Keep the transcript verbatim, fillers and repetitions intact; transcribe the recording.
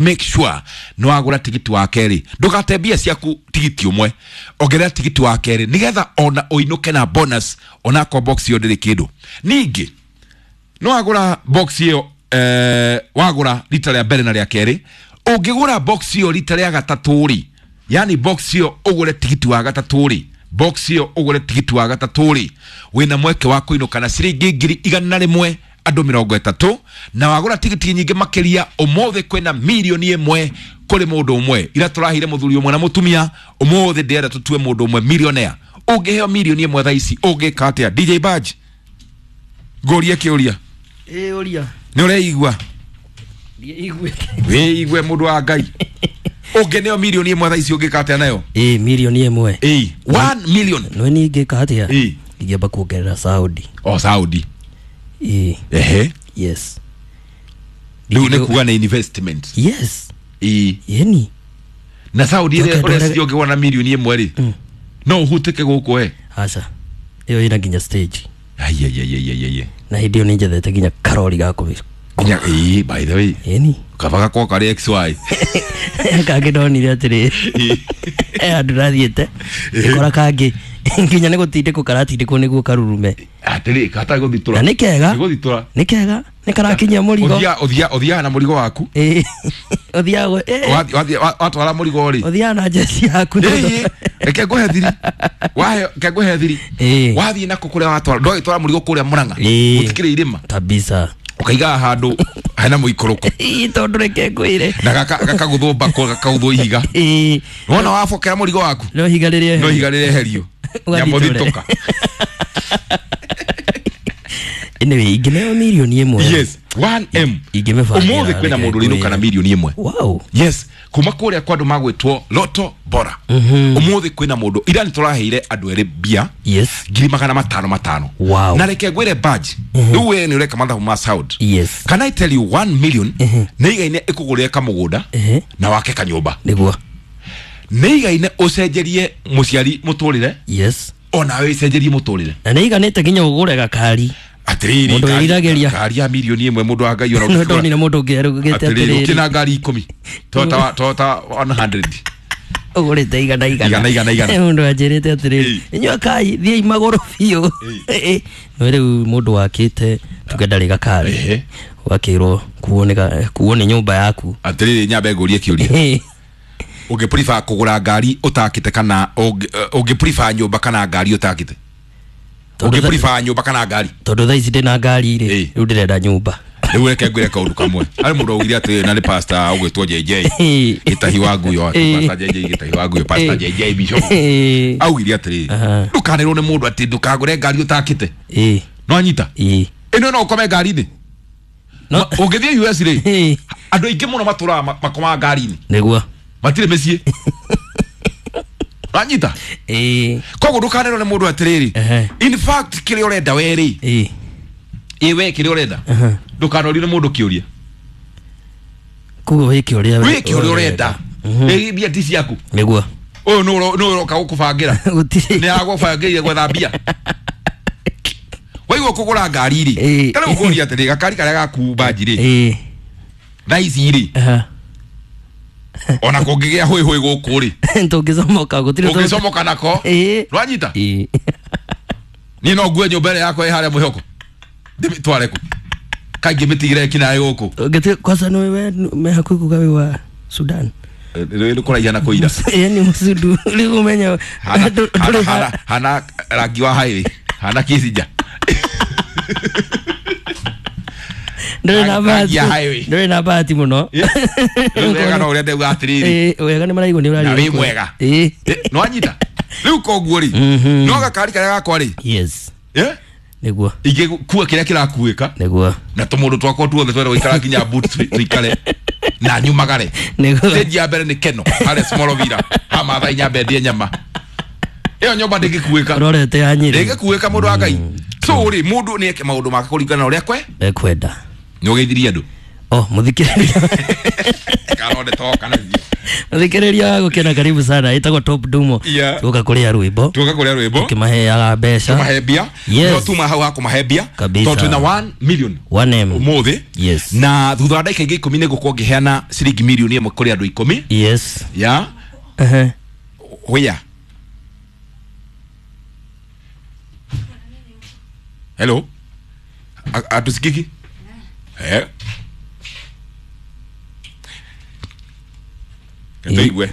Make sure nĩ wagũra tigiti wa kerĩ, ndũgate mbia ciaku tigiti ũmwe, ongerera tigiti wa kerĩ nĩgetha ona ũinũke na bonus onakorwo box ĩyo ndĩrĩ kĩndũ. Ningĩ nĩ wagũra box ĩyo, eh, wagũra rita rĩa mbere na rĩa kerĩ, ũngĩgũra box ĩyo rita rĩa gatatũ rĩ, yani box ĩyo ũgũre tigiti wa gatatũ rĩ, box ĩyo ũgũre tigiti wa gatatũ rĩ, wĩna mweke wa kũinũka na ciringi ngiri igana rĩmwe andũ mĩrongo ĩtatũ, na wagũra tigiti nyingĩ makĩria ũmũthĩ kwĩna mirioni ĩmwe kũrĩ mũndũ ũmwe. Ira tũrahire mũthuri ũmwe na mũtumia, ũmũthĩ ndĩrenda tũtue mũndũ ũmwe millionaire. Ũngĩheo mirioni ĩmwe thaa ici ũngĩka atĩa? D J Badge, ngũrie kĩũria. Ĩ, ũria. Nĩ ũreigua? Ndiiguĩte. Wĩigue mũndũ wa Ngai. Ũngĩneo mirioni ĩmwe thaa ici ũngĩka atĩa nayo? Ĩ, mirioni ĩmwe. Ĩ, one million. Nĩ niĩ ingĩka atĩa? Ĩ. Ingĩamba kuongerera Saudi. O Saudi. Ĩ. Ehe. Yes. Rĩu nĩ kuga nĩ investment. Yes. Ĩ. Yeni. Na Saudi ĩrĩa Njoke ndore- ũreciria ũngĩgũra na mirioni ĩmwe rĩ, no ũhutĩke gũkũ we? Aca. Ĩyo ĩna nginya stage. Ai, ai, ai, ai, ai, ai. Na hĩndĩ ĩyo nĩ njethete nginya karori ga kũmĩ. Nginya, ĩ, by the way. Yeni. Kaba gakwa karĩ X Y. Kangĩ ndonire atĩrĩ. Ĩ. Eh, handũ ndathiĩte. Ngĩkora kangĩ nginya nĩ gũtindĩkwo karatindĩkwo nĩguo karurume. Atĩrĩ, gatarĩ gũthitũra. Na nĩ kega. Nĩ gũthitũra. Nĩ kega. Nĩ karakinyia mũrigo. Ũthiaga, ũthiaga, ũthiaga na mũrigo waku. Ĩ. Ũthiaga gũ- ĩ. Wathiĩ, wathiĩ, wa-, watwara mũrigo rĩ. Ũthiaga na njeci yaku. Ĩ, ĩ, reke ngũhe thiri. Wahe, reke ngũhe thiri. Ĩ. Wathiĩ nako kũrĩa watwara, ndwagĩtwara mũrigo kũrĩa Murang'a. Ĩ. Gũtikĩrĩ irĩma. Kabisa. Ũkaigaga handũ hena mũikũrũko. Ĩ, tondũ reke ngwĩre. Na gaka, gakagũthwo mbakũ, gakagũthwo ihiga. Ĩ. Wona wabokera mũrigo waku? No ihiga rĩrĩa No ihiga rĩreherio. Ũgathitũre. Nyamũthitũka. Anyway, ingĩneo mirioni ĩmwe. Yes, one M. Ingĩmĩbangĩra Ũmũthĩ kwĩna reke mũndũ ũrainũka na ngwĩre. mirioni ĩmwe. Wow. Yes, kuma kũrĩa kwa andũ magwĩtwo Lotto Bora. Ũmũthĩ kwĩna mũndũ, ira nĩ tũraheire andũ erĩ mbia. Yes. Ngiri magana matano matano. Wow. Na reke ngwĩre badge. Rĩu we nĩ ũreka mathabu ma sound. Yes. Can I tell you one million nĩ igaine ĩkũgũrĩre kamũgũnda Ehe. na wake kanyũmba. Nĩguo. Nĩ igaine ũcenjerie mũciari mũtũrĩre. Yes. Ona we ũcenjerie mũtũrĩre. Na nĩ iganĩte nginya ũgũre gakari. Atĩrĩrĩ, Mũndũ ngari- wĩriragĩria. ngari ya mirioni ĩmwe mũndũ wa Ngai ona No ũngĩkĩgũra. ndonire mũndũ ũngĩ arugĩte Atĩrĩrĩ, atĩrĩrĩ. ũkĩna ngari ikũmi. Toyota, Toyota one hundred. Ũgũrĩte igana igana. Igana, igana, igana. Mũndũ anjĩrĩte atĩrĩrĩ, Ĩ. inyuĩ akai thiĩi magũrũ biũ. Ĩ. No rĩu mũndũ wakĩte tuge ndarĩ gakari. Ehe. Ũgakĩrwo kuo nĩ ga- kuo nĩ nyũmba yaku. Atĩrĩrĩ, nyambe ngũrie kĩũria. Ũngĩ prefer kũgũra ngari ũtakĩte kana ũngĩ, eh, ũngĩ prefer nyũmba kana ngari ũtakĩte? Tondũ Ũngĩ tha- prefer nyũmba kana ngari? Tondũ thaa ici ndĩna ngari rĩ, Ĩ. rĩu ndĩrenda nyũmba. Rĩu reke ngwĩre kaũndũ kamwe. Harĩ mũndũ augire atĩrĩrĩ, na nĩ pastor ũgwĩtwo J J. Gĩtahi wa Nguyo, Ĩ. pastor J J Gĩtahi wa Nguyo, pastor Ĩ. J J Bishop. Ĩ. Augire atĩrĩrĩ, Aha. ndũkanĩrwo nĩ mũndũ atĩ ndũkagũre ngari ũtakĩte. Ĩ. No anyita? Ĩ. Ĩno no ũkome ngari-inĩ. No. Ma-, ũngĩthiĩ U S rĩ, Ĩ. andũ aingĩ mũno matũraga ma-, makomaga ngari-inĩ. Nĩguo. Matirĩ mĩciĩ. Wanyita? Ĩ. Koguo ndũkanĩrwo nĩ mũndũ atĩrĩrĩ. Ehe. In fact, kĩrĩa ũrenda we rĩ. Ĩ. Ĩ, we kĩrĩa ũrenda. Aha. Ndũkanorie nĩ mũndũ kĩũria. Koguo wĩke ũrĩa we- Wĩke ũrĩa ũrenda. Ĩ, mbia ti ciaku. Nĩguo. Ũyũ nĩ ũro-, nĩ ũroka gũkũbangĩra. Gũtirĩ. Nĩ agũbangĩire gwetha mbia. Waigua kũgũra ngari rĩ. Ĩ. Ta rĩu ngũria atĩrĩ, gakari karĩa gaku banji rĩ. Ĩ. Thaa ici rĩ. Aha. Ona kũngĩgĩa hũĩ hũĩ gũkũ rĩ. Tũngĩcomoka gũtirĩ tũ- Ũngĩcomoka nako. Ĩ. Nĩwanyita? Ĩ. Niĩ no ngue nyũmba ĩrĩa yakwa ĩ harĩa mwĩhoko. Ndĩmĩtware kũ? Kaingĩ mĩtigĩre kinaĩ gũkũ. Ũngĩtuĩka kwanza nĩ we me hakuhĩ kuga wĩ wa Sudan. Rĩu nĩ kũraiha na kũira. Ĩ, nĩ mũsundu. Rĩu ũmenye Hana, ndũ-, hana, ndũrĩ hana, hana rangi wa highway. Hana Kissinger. Ndũrĩ na Rangi bahati. ya highway. Ndũrĩ na bahati mũno. Ĩ, rĩu wega no ũrĩa ndauga atĩrĩrĩ. Ĩ, wega nĩ maraigua nĩ ũraria Na wĩ gũkũ. mwega. Ĩ. Ĩ, nĩwanyita? Rĩu koguo rĩ, Mhm. no gakari karĩa gakwa rĩ. Yes. Ĩ? Nĩguo. Ingĩkua kĩrĩa kĩrakuĩka. Nĩguo. Na tũmũndũ twakwa tuothe twenda gũikara nginya boot tũikare. Na nyumagare. Nĩguo. Stage ya mbere nĩ Keno, harĩa Small Villa. Ha Maathai nyambe ndie nyama. Ĩyo nyũmba ndĩngĩkuĩka. Ũrorete ya Nyĩrĩ. Ndĩngĩkuĩka mũndũ wa Ngai. So rĩ, mũndũ nĩ eke maũndũ make kũringana na ũrĩa kwe? Ekwenda. Nĩ ũgeithirie andũ? Oh, mũthikĩrĩria. Karode toka na thiĩ. Thikĩrĩria gũkena karibu sana ĩtagwo Top Dumo. Yeah. Tuoka kũrĩa rwĩmbo. Tuoka kũrĩa rwĩmbo. Tukimaheaga mbeca. Tumahe mbia. Yes. No tuma hau ha kũmahe mbia. Kabisa. Tondũ twĩna one million one M. ũmũthĩ. Yes. Na thutha wa ndagĩka ingĩ ikũmi nĩ ngũkorwo ngĩheana ciringi mirioni ĩmwe kũrĩ andũ ikũmi. Yes. Ya. Ehe. Where? Hello? Atusikiki? Eh. Katoigwe.